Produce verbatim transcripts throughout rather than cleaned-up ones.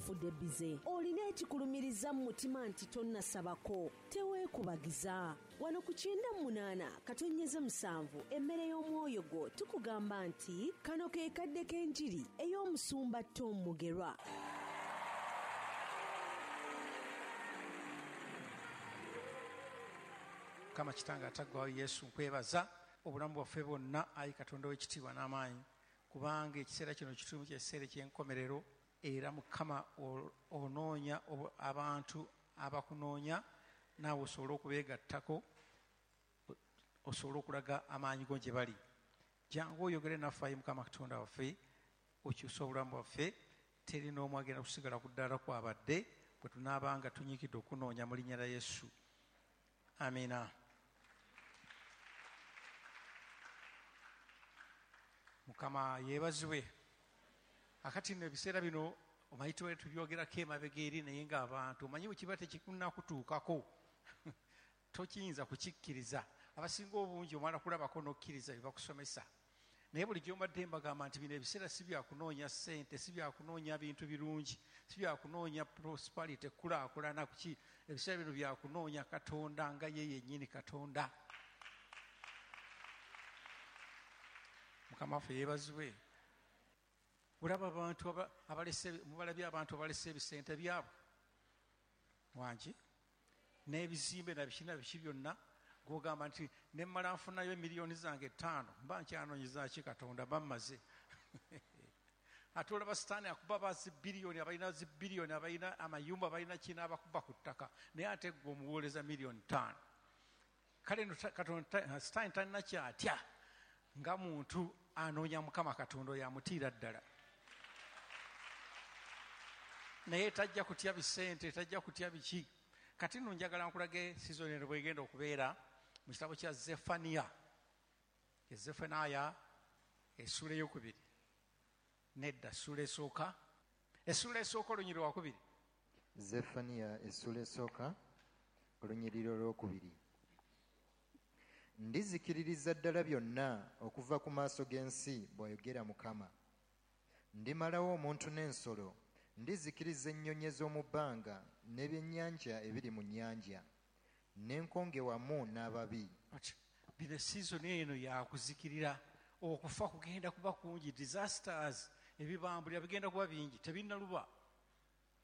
Ofudde bize, olina ekikulumiriza mu mutima nti tonnasabako, teweekubagiza. Wano ku kyenda munaana katonnyeze musanvu emmere y'omwoyo gwo tukugamba nti kano ke kadde k'enjiri ey'omusumba Tom Mugerwa. Mukama kitange ataggwaawo Yesu, nkwebaza obulamu bwaffe bwonna, ayi Katonda w'ekitiibwa n'amaanyi, kubanga ekiseera kino kituumu ky'ekiseera eky'enkomerero, era Mukama onoonya abantu abakunoonya, naawe osobole okubeegattako, osobole okulaga amaanyi go gye bali. Jangu oyogere naffe, ayi Mukama Katonda waffe, okyuse obulamu bwaffe. Teri n'omu agenda kusigala ku ddaala kwabadde bwe tunaabanga tunyiikidde okunoonya mu linnya lya Yesu. Amina. Mukama yeebazibwe. Akati nno ebiseera bino omanyi tubaire tubyogerako emabega eri, naye ng'abantu omanyi bwe kiba tekikunnakutuukako tokiyinza kukikkiriza. Abasinga obungi omala kulabako n'okkiriza bye bakusomesa, naye bulijjo mbadde mbagamba nti bino ebiseera si byakunoonya ssente, si byakunoonya bintu birungi, si byakunoonya prosperity, kulaakulana kuki. Ebiseera bino byakunoonya Katonda nga ye yennyini Katonda. Mukama waffe yeebazibwe. Olaba abantu abalese, mubalabye abantu abalese ebisente byabwe wangi n'ebizimbe na biki na biki byonna, gw'ogamba nti ne mmala nfunayo emiliyoni zange ttaano mba nkyanoonyeza ki Katonda, bammaze. Ate olaba Sitaani akuba ba zibbiliyoni, abalina zibbiliyoni, abalina amayumba, abalina kino, abakuba ku ttaka, naye ate ggwe omuwooleza miliyoni ttaano. Kale nno Katonda Sitaani talina kyatya nga muntu anoonya Mukama Katonda oyo amutiira ddala, naye tajja kutya bisente, tajja kutya biki. Kati nno njagala nkulage sizoni eno bwegenda okubeera mu kitabo kya Zefaniya, Zefanaya essuula ey'okubiri, nedda ssuula esooka, essuula esooka olunyiriri lwakubiri. Zefaniya essuula esooka olunyiriri olwokubiri. Ndizikiririza ddala byonna okuva ku maaso g'ensi, bw'ayogera Mukama. Ndimalawo omuntu n'ensolo, ndizikiriza ennyonyi ez'omu bbanga n'ebyennyanja ebiri mu nnyanja, n'enkonge wamu n'ababi. Bino sizoni eno yakuzikirira, okufa kugenda kuba kungi, disasters ebibambulira bigenda kuba bingi, tebinnaluba.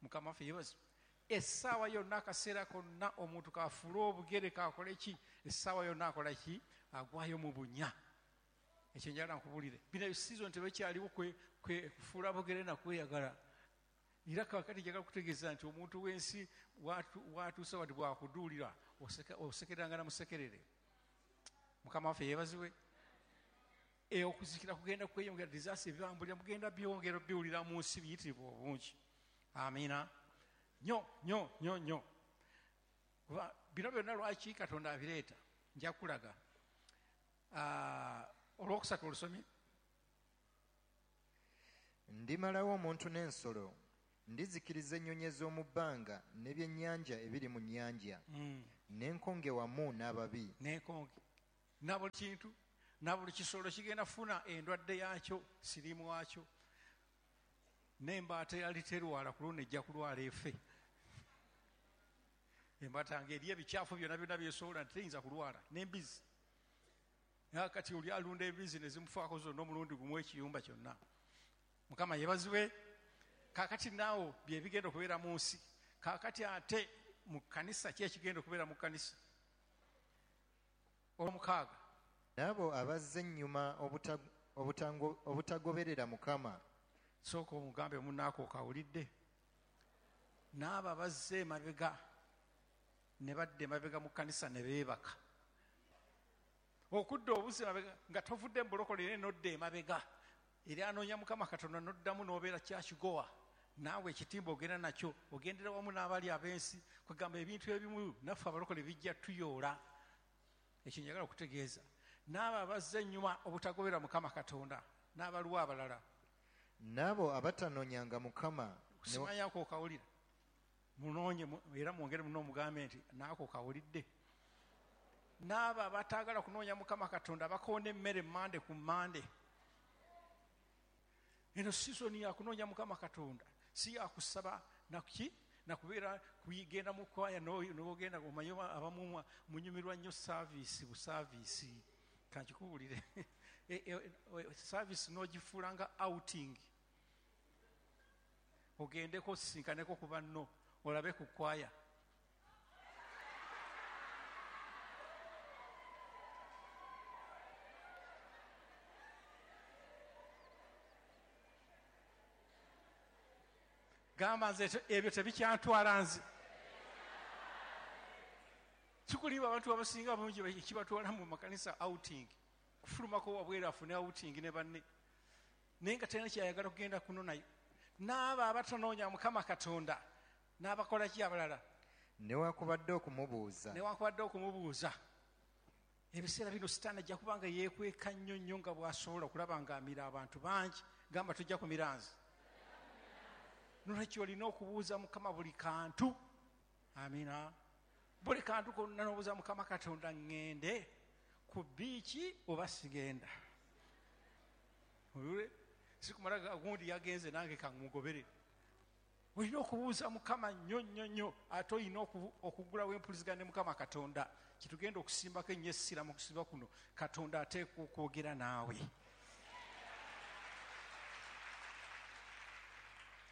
Mukama waffe yeebazibwe. Essaawa yonna, akaseera konna omuntu kafuule obugere kakole ki, essaawa yonna akola ki, agwayo mu bunya. Ekyo njagala nkubulire, bino sizoni tebekyaliwo kufuula bugere na kweyagala. Era kaakati njagala kutegeeza nti omuntu w'ensi watuuse wati bwakuduulira osekereranga na musekerere. Mukama waffe yeebazibwe. E okuzikira kugenda kweyongera, disaster ebibambulira mugenda byongera biwulira mu nsi biyitirivu obungi. Amiina. Nnyo nnyo nnyo nnyo. Kuba bino byonna lwaki Katonda abireeta, nja kulaga. Olwokusatu olusomye. Ndimalawo omuntu n'ensolo, ndizikiriza ennyonyi ez'omu bbanga n'ebyennyanja ebiri mu nnyanja, mm. n'enkonge wamu n'ababi. N'enkonge na buli kintu na buli kisolo kigenda kufuna endwadde yaakyo, siriimu waakyo, n'embaata yali terwala ku luno ejja kulwala efe. Embaata ng'eri ebikyafu byonna byonna byesobola nti teyinza kulwala, n'embizi. Naye kati oli alunda embizi ne zimufaako zonna omulundi gumu ekiyumba kyonna. Mukama yeebazibwe. Kaakati naawo bye bigenda okubeera mu nsi. Kaakati ate mu kkanisa ki ekigenda okubeera mu kkanisa? Olwomukaaga. N'abo abazze ennyuma obutagoberera Mukama. Sooka omugambe munnaako okawulidde. N'abo abazze emabega ne badda emabega mu kkanisa ne beebaka. Okudda obuzzi emabega nga tovudde mu bulokole naye n'odda emabega, eri anoonya Mukama Katonda n'oddamu n'obeera kyakigowa, naawe ekitimba ogenda nakyo, ogendera wamu n'abali ab'ensi. Kwegamba ebintu ebimu naffe abalokole bijja tuyoola. Ekyo njagala okutegeeza. N'abo abazze ennyuma obutagobera Mukama Katonda n'abaliwo abalala, n'abo abatanoonyanga Mukama. Simanyako okawulira, munoonye era mwongere muno omugambe nti naako kawulidde. N'abo abataagala kunoonya Mukama Katonda bakoona emmere mande ku mande. Eno sizoni ya kunoonya Mukama Katonda, Si yakusaba nakuki nakubeera kuyigenda mu kwaya n'ogenda omanyi abamu munyumirwa nnyo service bu service kankikubuulire service n'ogifuula nga outing ogendeko osinkaneko ku banno olabe ku kwaya. Gamba nze ebyo tebikyantwala nze. Kikuliba abantu abasinga bungi kibatwala mu makanisa outing kufulumako wabweru afune outing ne banne naye nga talina kyayagala kugenda kuno nayo. N'abo abatanoonya Mukama Katonda n'abakola ki abalala newankubadde okumubuuza newankubadde okumubuuza. Ebiseera bino Sitaani ajja kuba nga yeekweka nnyo nnyo nga bw'asobola okulaba ng'amira abantu bangi. Gamba tujja kumira nze. Nolwekyo olina okubuuza Mukama buli kantu. Amina. Buli kantu konna n'obuuza Mukama Katonda ŋŋende ku biiki oba sigenda. Sikumala gundi yagenze nange kammugobere. Olina okubuuza Mukama nnyo nnyo nnyo ate olina okugulawo empuliziganya ne Mukama Katonda. Kitugenda okusimbako ennyo essira mu kusiba kuno. Katonda ateekwa okwogera naawe.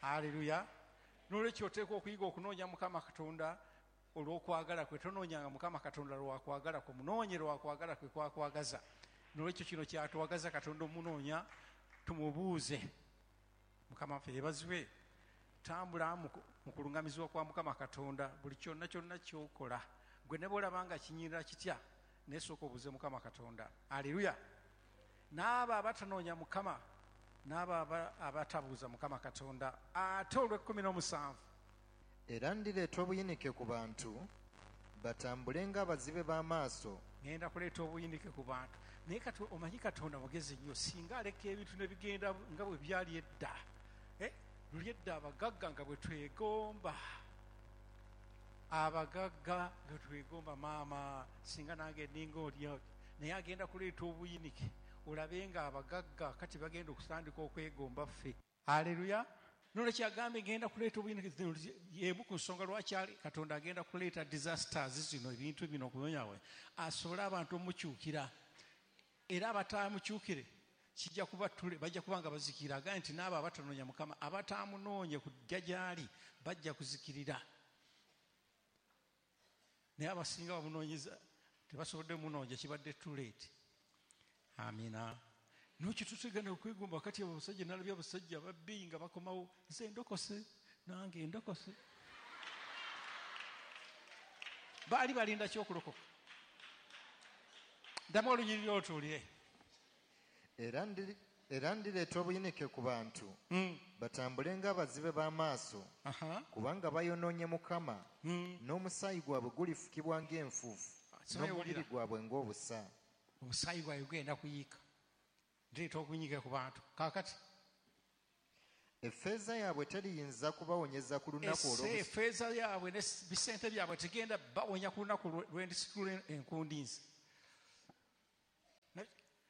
Haleluya. Nolwekyo oteekwa okuyiga okunoonya Mukama Katonda olw'okwagala kwe. Tonoonyanga Mukama Katonda lwakwagala kwe, munoonye lwakwagala kwe kwakwagaza. Nolwekyo kino kyatwagaza Katonda omunoonya tumubuuze. Mukama waffe yeebazibwe. Tambula mu kulungamizibwa kwa Mukama Katonda buli kyonna kyonna ky'okola. Gwe ne bw'olaba nga kinyirira kitya, naye sooka obuuze Mukama Katonda. Haleluya. N'abo abatanoonya Mukama n'abo abatabuuza Mukama Katonda. Ate olw'ekkumi n'omusanvu era ndireeta obuyinike ku bantu batambule ng'abazibe b'amaaso. Ngenda kuleeta obuyinike ku bantu. Naye kati omanyi Katonda mugezi nnyo, singa aleka ebintu ne bigenda nga bwe byali edda. Eh, luli edda abagagga nga bwe twegomba, abagagga nga twegomba maama singa nange nninga oli. Naye agenda kuleeta obuyinike olabe nga abagagga kati bagenda okutandika okwegomba ffe. Haleluya. Nolwekyo agambye ngenda kuleeta obuyinike. Y'emu ku nsonga lwaki Katonda agenda kuleeta disasters zino, ebintu bino okunonyawe asobole abantu omukyukira. Era abataamukyukire kijja kuba tule bajja kuba nga bazikirira. Agambye nti n'abo abatanoonya Mukama abataamunoonye kujja gy'ali bajja kuzikirira. Naye abasinga bamunoonyeza tebasobodde munoonya, kibadde too late. Amina. Nokyo tutegana okwegomba kati abasajja nalabye abasajja ababbi nga bakomawo nze ndokose nange ndokose. Baali balinda ki okulokoka? Ddamu olunyiriri otuulire. Era ndireeta obuyinike ku bantu batambule ng'abazibe b'amaaso kubanga bayonoonye Mukama n'omusaayi gwabwe gulifukibwa ng'enfuufu n'omubiri gwabwe ng'obusa. Omusaayi gwabwe gugenda kuyiika. Ndireeta obuyinike ku bantu. Kaakati effeeza yaabwe teriyinza kubawonyeza ku lunaku olw'obusa. Effeeza yaabwe ne bisente byabwe tegenda bawonya ku lunaku lw'endisitula enkundi nze.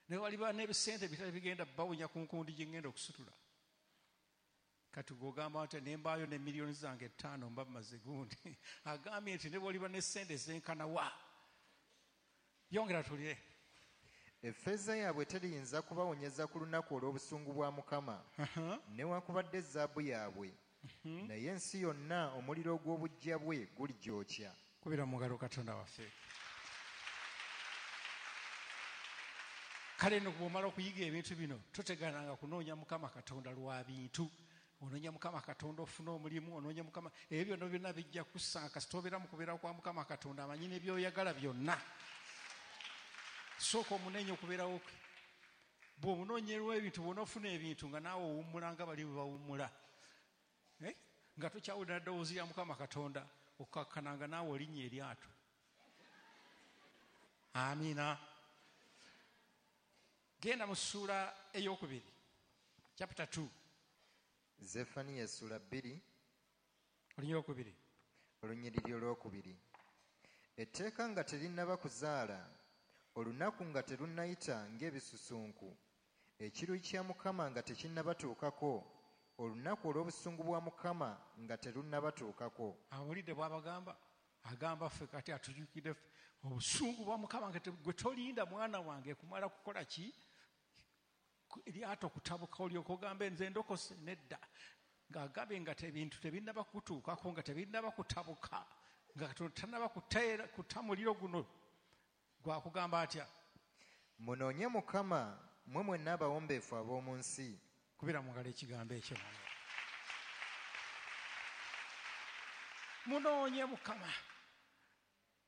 Ne waliba n'ebisente bitali bigenda bawonya ku nkundi gye ngenda okusitula. Kati gw'ogamba nti ne mbaayo ne miliyoni zange ttaano mba mmaze gundi. Agambye nti ne bw'oliba ne ssente zenkana wa. Yongera tulire. Effeeza yaabwe teriyinza kubawonyeza ku lunaku olw'obusungu bwa Mukama newankubadde ezaabu yaabwe, naye ensi yonna omuliro ogw'obuggya bwe guligyokya. Kubira mu ngalo Katonda waffe. Kale nno bw'omala okuyiga ebintu bino totegananga kunoonya Mukama Katonda lwa bintu. Onoonya Mukama Katonda ofune omulimu, onoonya Mukama ebyo byonna byonna bijja kusanga kasita obeera mu kubeera kwa Mukama Katonda amanyi ne by'oyagala byonna. Sooka omunenye okubeerawo kwe. Bw'omunoonyerwa ebintu, bw'onoofuna ebintu nga naawe owummula nga bali bwe bawummula. Eh? Nga tokyawulira ddoboozi lya Mukama Katonda, okkakkana nga naawe olinnya eryato. Amiina. Genda mu ssuula ey'okubiri, chapter two. Zefaniya essuula bbiri, olunyiriri olwokubiri. Olunyiriri olwokubiri. Etteeka nga terinnaba kuzaala, olunaku nga terunnayita ng'ebisusunku, ekiruyi kya Mukama nga tekinnabatuukako, Olunaku olw'obusungu bwa Mukama nga terunnabatuukako. Awulidde bw'abagamba, agamba ffe kati atujjukidde ffe obusungu bwa Mukama nga gwe tolinda mwana wange kumala kukola ki eryato kutabuka olyoka ogambe nze ndokose nedda, ng'agambye nga ebintu tebinnaba kutuukako, nga tebinnaba kutabuka, nga tannaba kuta muliro guno gwakugamba atya? Munoonye Mukama mmwe mwenna abawombeefu ab'omu nsi. Kubira mu ngalo ekigambo ekyo. Munoonye Mukama.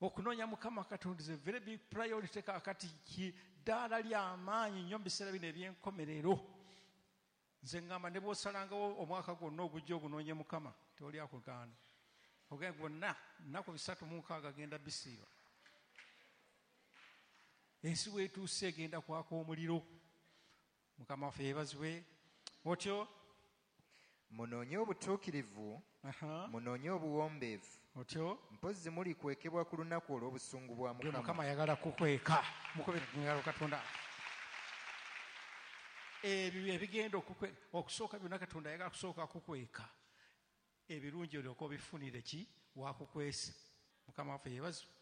Okunoonya Mukama Katonda is a very big priority kaakati ki ddaala ly'amaanyi nnyo mu biseera bino eby'enkomerero. Nze ŋŋamba ne bw'osalangawo omwaka gwonna ogujja ogunoonye Mukama tewali akugaana. Ogenda gwonna nnaku bisatu mu nkaaga genda bisiiba. Ensi weetuuse egenda kwaka omuliro. Mukama waffe yeebazibwe. Otyo munoonye obutuukirivu, munoonye obuwombeefu. Otyo mpozzi mulikwekebwa ku lunaku olw'obusungu bwa Mukama. Mukama ayagala kukweka. Mukubire engalo Katonda. Ebyo ebigenda okusooka byonna Katonda ayagala kusooka kukweka. Ebirungi olyoka obifunire ki wakukwese. Mukama waffe yeebazibwe.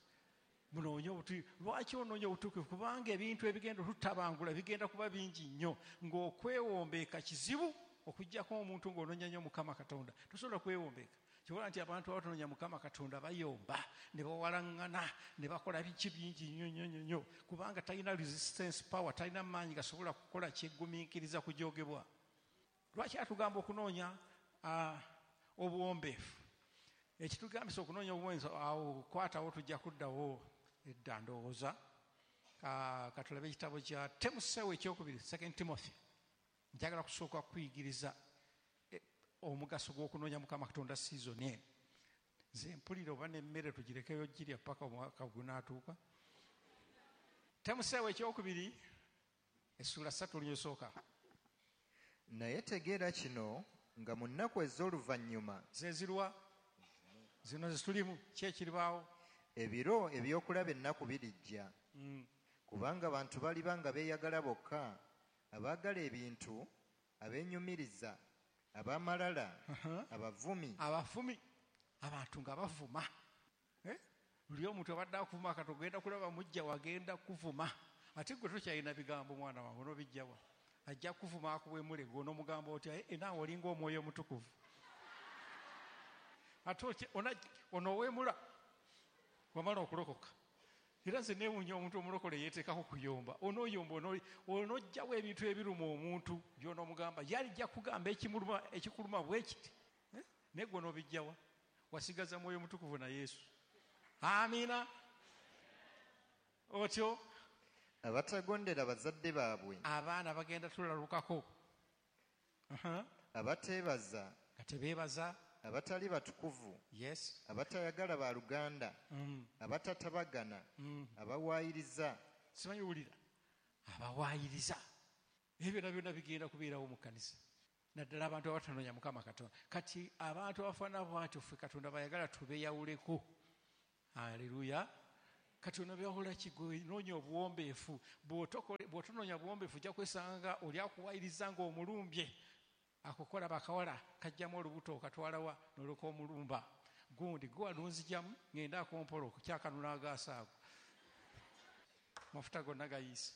Munoonye obutuukirivu. Lwaki onoonya obutuukirivu? Kubanga ebintu ebigenda otutabangula bigenda kuba bingi nnyo, ng'okwewombeeka kizibu okuggyako omuntu ng'onoonya nnyo Mukama Katonda. Tosobola kwewombeeka. Kyobola nti abantu abatonoonya Mukama Katonda bayomba ne bawalaŋŋana ne bakola biki bingi nnyo nnyo nnyo nnyo, kubanga talina resistance power, talina maanyi gasobola kukola kyeggumiikiriza kujoogebwa. Lwaki atugamba okunoonya obuwombeefu? Ekitugambisa okunoonya obuwombeefu awo kwatawo tujja kuddawo edda ndowooza. Katulabe ekitabo kya Timoseewo ekyokubiri, Second Timothy. Njagala kusooka kuyigiriza omugaso gw'okunoonya Mukama Katonda season eno. Nze mpulira oba n'emmere tugirekeyo girya paka omwaka gunaatuuka. Timoseewo ekyokubiri essuula ssatu olunyosooka. Naye tegeera kino nga mu nnaku ez'oluvannyuma ze zirwa zino zitulimu ki ekiribaawo? Ebiro ebyokulaba ennaku birijja. Mm. Kubanga abantu baliba nga beeyagala bokka, abaagala ebintu, abeenyumiriza, ab'amalala, uh-huh. abavumi. Abavumi, abantu nga bavuma. Eh? Luli omuntu abadde akuvuma kati ogenda kulaba mujja wagenda kuvuma. Ate gwe tokyalina bigambo mwana wange onoobijjawa. Ajja kuvuma akuwemule gwe onoomugamba otya, eh, naawe olinga omwoyo omutukuvu. Ate onoowemula wamala okulokoka. Era nze neewuunya omuntu omulokole yeeteekako kuyomba. Onooyomba onoggyawo ebintu ebiruma omuntu by'onoomugamba. Yalijja kugamba ekimuluma ekikuluma bwe kiti. Eh? Naye gwe onoobijjawa. Wasigaza mwoyo mutukuvu na Yesu. Amiina. Otyo abatagondera bazadde baabwe. Abaana bagenda tulalukako. Uh-huh. Abateebaza. Nga tebeebaza. Abatali batukuvu. Yes. Abatayagala baluganda. Mm. Abatatabagana. Mm. Abawaayiriza. Simanyi wulira. Abawaayiriza. Ebyo byonna byonna bigenda kubeerawo mu kkanisa. Naddala abantu abatanoonya Mukama Katonda. Kati abantu abafaanana bw'atyo ffe Katonda bayagala tubeeyawuleko. Haleluya. Kati onobyawula ki? Gwe noonya obuwombeefu. Bw'otonoonya buwombeefu ojja kwesanga oli akuwaayiriza ng'omulumbye. Akukola bakawala kajjamu olubuto okatwalawa n'olyoka omulumba. Gundi gwe walunzigyamu ngenda akompola okukyakanula agaaso ago. Mafuta gonna gayiise.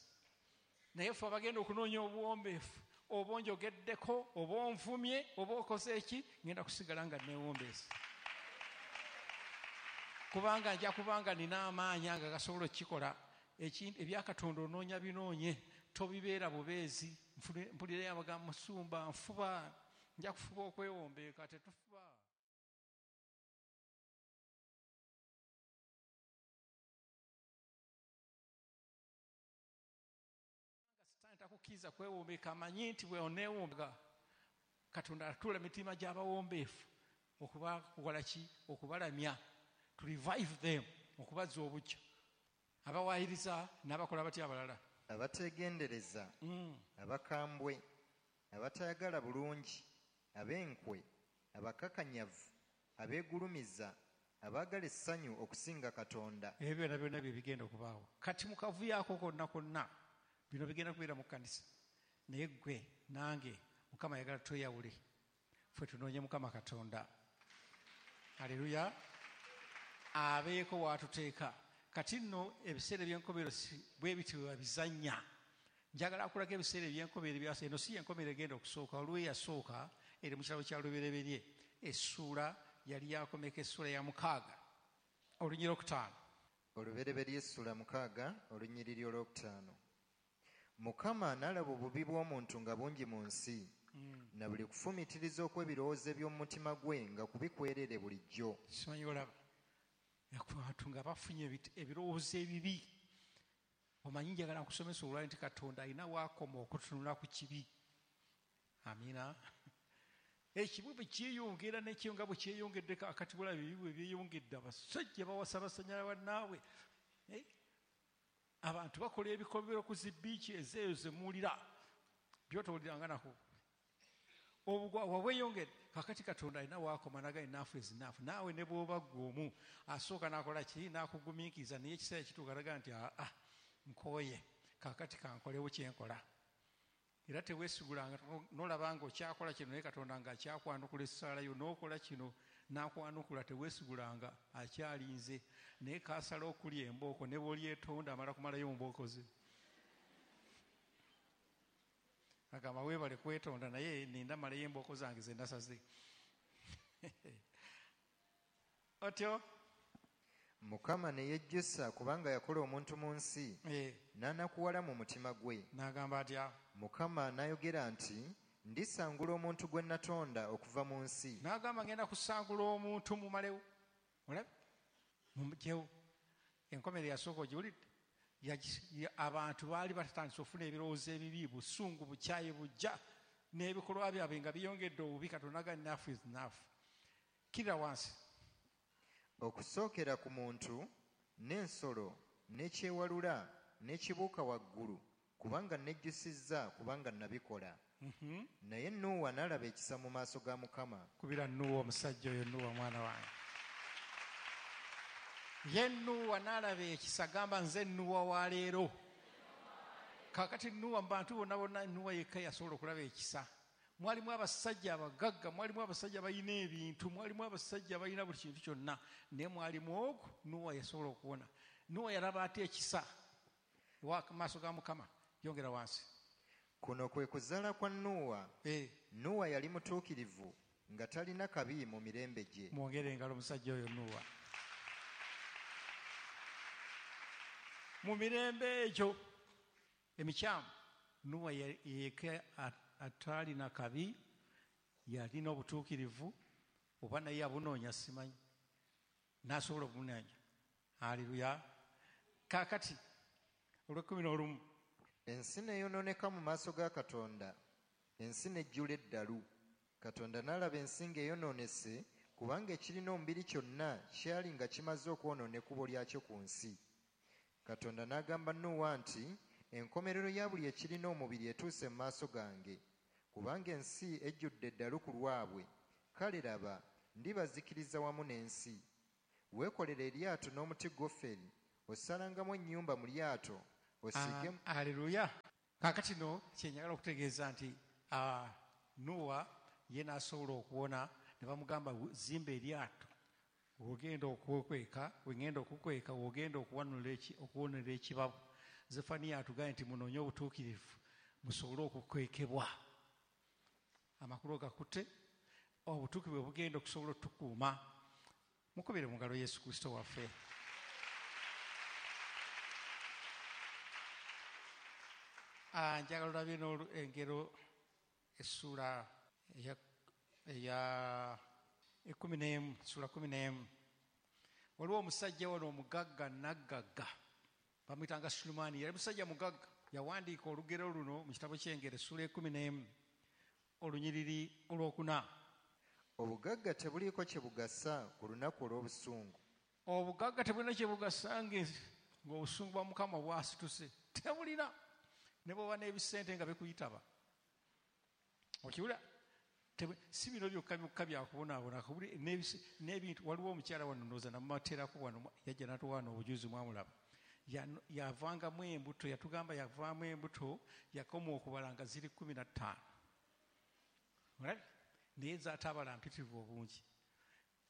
Naye ffe abagenda okunoonya obuwombeefu, oba onjogeddeko, oba onvumye, oba okoze eki, ngenda kusigala nga neewombeese. Kubanga nja kubanga nina amaanyi nga gasobola okukikola. Ebya Katonda onoonya binoonye, tobibeera bubeezi. Mpulira abagamba musumba nfuba, nja kufuba okwewombeeka, tetufuba. Sitaani takukkiriza kwewombeeka, amanyi nti bwe oneewombeeka Katonda atuula emitima gy'abawombeefu okubakola ki? Okubalamya, to revive them, okubazza obuggya. Abawaayiriza n'abakola batya abalala? Abateegendereza, mm. abakambwe, abatayagala bulungi, ab'enkwe, abakakanyavu, abeegulumiza, abaagala essanyu okusinga Katonda. Ebyo byonna byonna bye bigenda okubaawo. Kati mu kavuyo ako konna konna bino bigenda kubeera mu kkanisa. Naye ggwe nange Mukama ayagala tweyawule. Ffe tunoonye Mukama Katonda. Haleluya. Abeeko w'atuteeka. Kati nno ebiseera eby'enkomerero bwe bityo bwe babizannya. Njagala akulaga ebiseera eby'enkomerero ebyasa. Eno si y'enkomerero egenda okusooka, waliwo eyasooka eri mu kitabo kya Lubereberye. Essuula yali yakomeka essuula ya mukaaga olunyiriri olwokutaano. Olubereberye essuula mukaaga olunyiriri olwokutaano. Mukama n'alaba obubi bw'omuntu nga bungi mu nsi, mm. na buli kufumiitiriza okw'ebirowoozo eby'omu mutima gwe nga kubikwerere bulijjo. Simanyi olaba abantu nga bafunye ebirowoozo ebibi. Omanyi njagala nkusomesa olwali nti Katonda alina waakoma okutunula ku kibi. Amiina. Ekibi bwe kyeyongera n'ekyo nga bwe kyeyongedde akati bulaba ebibi bwe byeyongedde, abasajja bawasa basanyala bannaabwe. Abantu bakola ebikolobero ku zi bbiici ezeeyo ze muwulira by'otowuliranga nako. Obugwa bweyongedde. Kakati Katonda alina waakoma n'agamba enough is enough. Naawe ne bw'oba ggwe omu asooka n'akola ki, n'akugumiikiriza, naye ekiseera kituuka n'agamba nti aa nkooye, kakati kankolewo kye nkola. Era teweesigulanga n'olaba nga okyakola kino naye Katonda ng'akyakwanukula essaala yo, n'okola kino n'akwanukula, teweesigulanga akyalinze. Naye kaasala okulya embooko ne bw'olyetonda amala kumalayo mbooko ze. Agamba weebale kwetonda naye ninda malayo embooko zange ze nasaze. Otyo Mukama ne yejjusa kubanga yakola omuntu mu nsi, e. n'anakuwala mu mutima gwe. N'agamba atya? Mukama n'ayogera nti ndisangula omuntu gwe natonda okuva mu nsi. N'agamba ngenda kusangula omuntu mumalewo. Olabe? Mumugyewo. Enkomerero yasooka ogiwulidde? Abantu baali batatandise okufuna ebirowoozo ebibi, busungu, bukyayi bujja n'ebikolwa byabwe nga byongedde obubi. Katonda agamba enough is enough. Kirira wansi. Okusookera ku muntu n'ensolo n'ekyewalula n'ekibuuka waggulu, kubanga nejjusizza kubanga nabikola. Mm-hmm. Naye Nuuwa n'alaba ekisa mu maaso ga Mukama. Kubira Nuuwa omusajja oyo, Nuuwa mwana wange. Ye Nuuwa n'alaba ekisa, gamba nze Nuuwa wa leero. Kaakati Nuuwa mu bantu bonna bonna Nuuwa yekka yasobola okulaba ekisa. Mwalimu abasajja abagagga, mwalimu abasajja abalina ebintu, mwalimu abasajja abalina buli kintu kyonna, naye mwalimu ogwo Nuuwa yasobola okuwona. Nuuwa yalaba atya ekisa wa maaso ga Mukama? Yongera wansi. Kuno kwe kuzaala kwa Nuuwa. E. Nuuwa yali mutuukirivu nga talina kabi mu mirembe gye. Mwongere engalo omusajja oyo Nuuwa. Mu mirembe egyo emikyamu Nuuwa yekka atalina kabi, yalina obutuukirivu, oba naye abunoonya simanyi, n'asobola okunoonya. Haleluya. Kaakati olw'ekkumi n'olumu. Ensi n'eyonooneka mu maaso ga Katonda, ensi n'ejjula eddalu. Katonda n'alaba ensi ng'eyonoonese, kubanga ekirina omubiri kyonna kyali nga kimaze okwonoona ekkubo lyakyo ku nsi. Katonda n'agamba Nuuwa nti enkomerero ya buli ekirina omubiri etuuse mu maaso gange, kubanga ensi ejjudde eddalu ku lwabwe. Kale laba, ndibazikiriza wamu n'ensi. Weekolere eryato n'omuti goferi, osalangamu ennyumba mu lyato, osiige. Haleluya. Kaakati no kye njagala okutegeeza nti Nuuwa ye n'asobola okuwona, ne bamugamba zimba eryato, w'ogenda okukweka, w'egenda okukweka, w'ogenda okuwonera ekibabu. Zefaniya atugambye nti munoonye obutuukirivu musobole okukwekebwa. Amakulu gakutte, obutuukirivu bwe bugenda okusobola otukuuma. Mukubire mu ngalo Yesu Kristo waffe. Njagala olabe engero essuula eya ekkumi n'emu, ssuula kkumi n'emu. Waliwo omusajja wano omugagga naggagga, bamuyitanga Sulemaani. Yali musajja mugagga. Yawandiika olugero luno mu kitabo ky'Engero essuula ekkumi n'emu olunyiriri olwokuna. Obugagga tebuliiko kye bugasa ku lunaku olw'obusungu. Obugagga tebulina kye bugasa ng'obusungu bwa Mukama bwasituse. Tebulina. Ne bw'oba n'ebisente nga bikuyitaba. Okiwulira? Si bino byokka byokka byakubonaabona, n'ebintu. Waliwo omukyala wano ndowooza namumateerako wano, yajja n'atuwa wano obujuzi mwamulaba. Yavangamu embuto, yatugamba yavaamu embuto, yakoma okubala nga ziri kkumi na ttaano. Naye zaatabala mpitirivu obungi.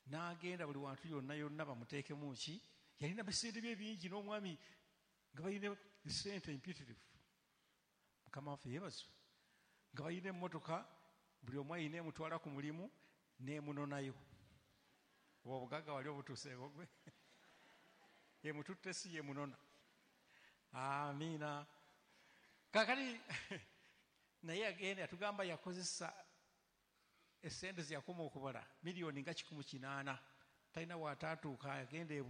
N'agenda buli wantu yonna yonna bamuteekemu ki, yalina bisente bye bingi n'omwami nga balina sente empitirivu. Mukama waffe yeebazibwe. Nga balina emmotoka, buli omu ayina emutwala ku mulimu n'emunonayo. Obwo obugagga wali obutuuseeko gwe? Emututte si yemunona. Amiina. Kaakati naye agenda yatugamba yakozesa essente ze yakoma okubala miliyoni nga kikumi kinaana. Talina w'ataatuuka, yagenda e